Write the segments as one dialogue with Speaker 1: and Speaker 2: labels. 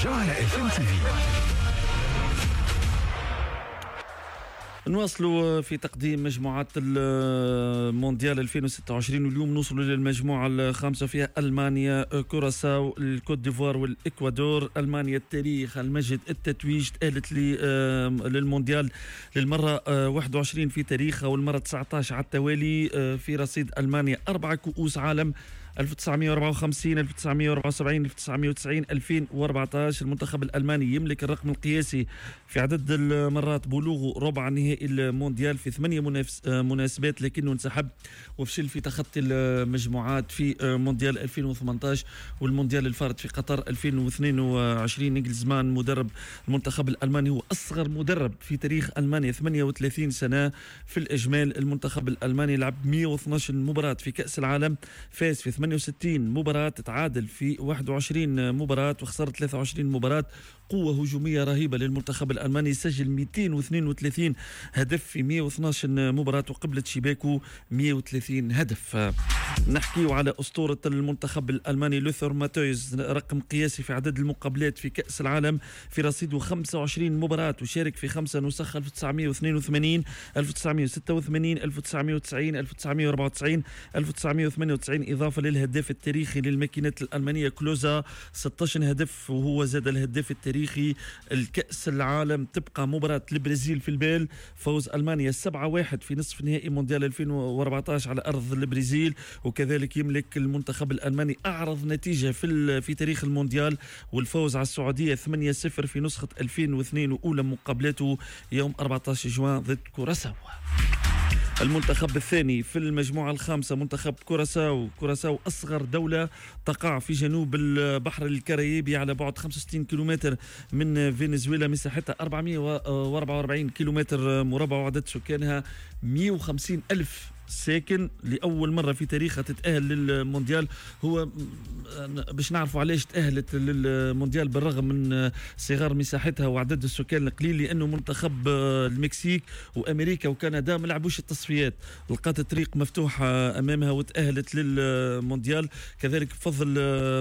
Speaker 1: جوهرة اف ام تي في.
Speaker 2: نواصلوا في تقديم مجموعات المونديال 2026، واليوم نوصلوا للمجموعة الخامسة فيها ألمانيا، كوراساو، الكوت ديفوار والإكوادور. ألمانيا التاريخ، المجد، التتويج، تأهلت للمونديال للمرة 21 في تاريخها والمرة 19 على التوالي. في رصيد ألمانيا 4 كؤوس عالم: 1954، 1974، 1990، 2014. المنتخب الألماني يملك الرقم القياسي في عدد المرات بلوغه ربع نهائي المونديال في 8 مناسبات، لكنه انسحب وفشل في تخطي المجموعات في مونديال 2018 والمونديال الفارط في قطر 2022. نيجلزمان مدرب المنتخب الألماني هو أصغر مدرب في تاريخ ألمانيا، 38 سنة في الإجمال. المنتخب الألماني لعب 112 مباراة في كأس العالم، فاز في 68 مباراة، تعادل في 21 مباراة وخسر 23 مباراة. قوة هجومية رهيبة للمنتخب الألماني، سجل 232 هدف في 112 مباراة وقبلت شباكه 130 هدف. نحكي على أسطورة المنتخب الألماني لوثر ماتويز، رقم قياسي في عدد المقابلات في كأس العالم، في رصيده 25 مباراة وشارك في 5 نسخ: 1982، 1986، 1990، 1994، 1998. إضافة للهداف التاريخي للماكينات الألمانية كلوزا، 16 هدف، وهو زاد الهداف التاريخي الكأس العالم. تبقى مباراة البرازيل في البال، فوز ألمانيا 7-1 في نصف نهائي مونديال 2014 على أرض البرازيل. وكذلك يملك المنتخب الألماني أعرض نتيجة في تاريخ المونديال، والفوز على السعودية 8-0 في نسخة 2002، وأولى مقابلاته يوم 14 جوان ضد كوراساو. المنتخب الثاني في المجموعة الخامسة منتخب كوراساو. كوراساو أصغر دولة تقع في جنوب البحر الكاريبي على بعد 65 كيلومتر من فنزويلا، مساحتها 444 كيلومتر مربع وعدد سكانها 150 ألف ساكن. لأول مرة في تاريخها تتأهل للمونديال. هو باش نعرفوا علاش تأهلت للمونديال بالرغم من صغار مساحتها وعدد السكان القليل، لأنه منتخب المكسيك وأمريكا وكندا ما لعبوش التصفيات، لقات الطريق مفتوحة أمامها وتأهلت للمونديال. كذلك بفضل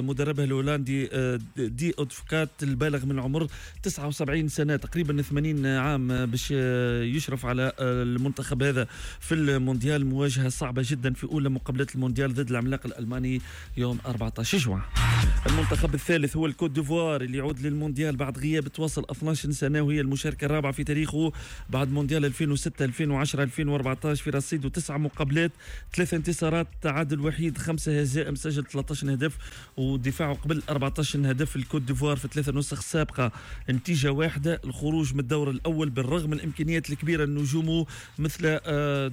Speaker 2: مدربها الهولندي دي أدفوكات البالغ من عمر 79 سنة، تقريبا 80 عام، باش يشرف على المنتخب هذا في المونديال. مواجهة صعبة جدا في أولى مقابلات المونديال ضد العملاق الألماني يوم 14 جوان. المنتخب الثالث هو الكوت ديفوار اللي يعود للمونديال بعد غياب تواصل 12 سنة، وهي المشاركة الرابعة في تاريخه بعد مونديال 2006، 2010، 2014. في رصيده 9 مقابلات، 3 انتصارات، تعادل وحيد، 5 هزائم، سجل 13 هدف ودفاعه قبل 14 هدف. الكوت ديفوار في 3 نسخ سابقة نتيجة واحدة، الخروج من الدور الأول بالرغم من الإمكانيات الكبيرة لنجومه مثل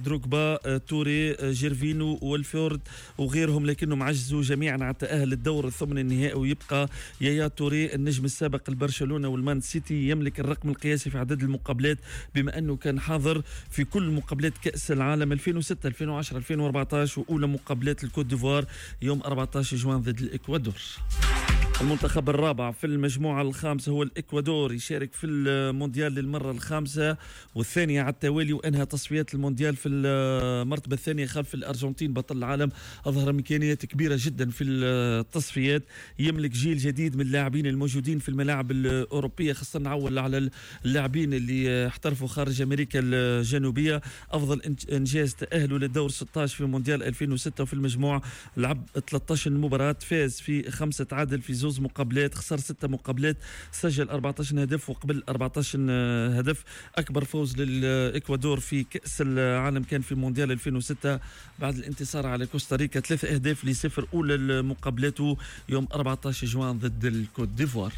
Speaker 2: دروغبا، توري، جيرفينو والفورد وغيرهم، لكنهم عجزوا جميعا على التأهل للدور الثمن النهائي. ويبقى يايا توري النجم السابق لبرشلونة والمان سيتي يملك الرقم القياسي في عدد المقابلات، بما أنه كان حاضر في كل مقابلات كأس العالم 2006، 2010، 2014، وأولى مقابلات الكوت ديفوار يوم 14 جوان ضد الإكوادور. المنتخب الرابع في المجموعة الخامسة هو الإكوادور، يشارك في المونديال للمرة الخامسة والثانية على التوالي، وأنهى تصفيات المونديال في المرتبة الثانية خلف الأرجنتين بطل العالم. أظهر إمكانيات كبيرة جدا في التصفيات، يملك جيل جديد من اللاعبين الموجودين في الملاعب الأوروبية، خاصة نعول على اللاعبين اللي احترفوا خارج أمريكا الجنوبية. أفضل إنجاز تأهلوا للدور 16 في مونديال 2006، وفي المجموع لعب 13 مباراة، فاز في 5، تعادل في 2 مقابلات، خسر 6 مقابلات، سجل 14 هدف وقبل 14 هدف. أكبر فوز للإكوادور في كأس العالم كان في مونديال 2006 بعد الانتصار على كوستاريكا 3-0 أولى مقابلاته يوم 14 جوان ضد الكوت ديفوار.